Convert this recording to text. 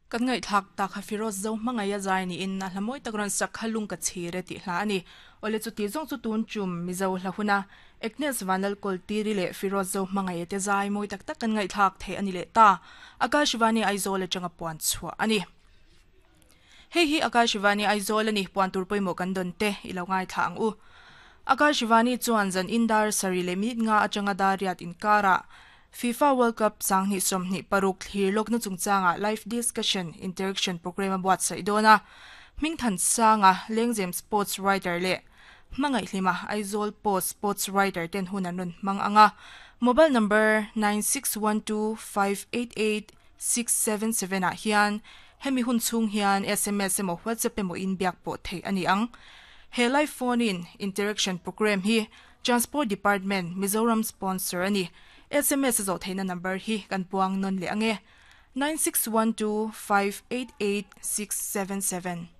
Kan ngaihthlak tak kha Firoz Zo hmangaih a zai niin a hla mawi tak rawn sak kha lung ka chhir e tih hla a ni. Awle chuti zawng chu tun tum Mizo hla huna Agnes Vanlalkawl Tiri leh Firoz Zo hmangaih te zai mawi tak tak kan ngaihthlak theih a ni leh ta. Akashvani Aizawl atanga puan chhuah a ni. Hei hi Akashvani Aizawl a ni, puan tur pawimawh kan dawn te i lo ngaithla ang u. Akashvani chuan zan in dar sarih leh minute nga atanga dar riat inkarah FIFA World Cup 2026 thlir lawkna chungchangah live discussion interaction programme a buatsaih dawn a. Hmingthansanga Lengzem Sports Writer leh Hmangaihhlima Aizawl Post Sports Writer ten hun an rawn hmang ang a. Mobile number 9612588677 ah hian hemi hun chhung hian sms emaw WhatsApp emaw in biak pawh theih a ni ang. He live phone in interaction programme hi Transport Department, Mizoram sponsor a ni. Sms a zawh theihna number hi kan puang nawn leh ang e, 9612588677.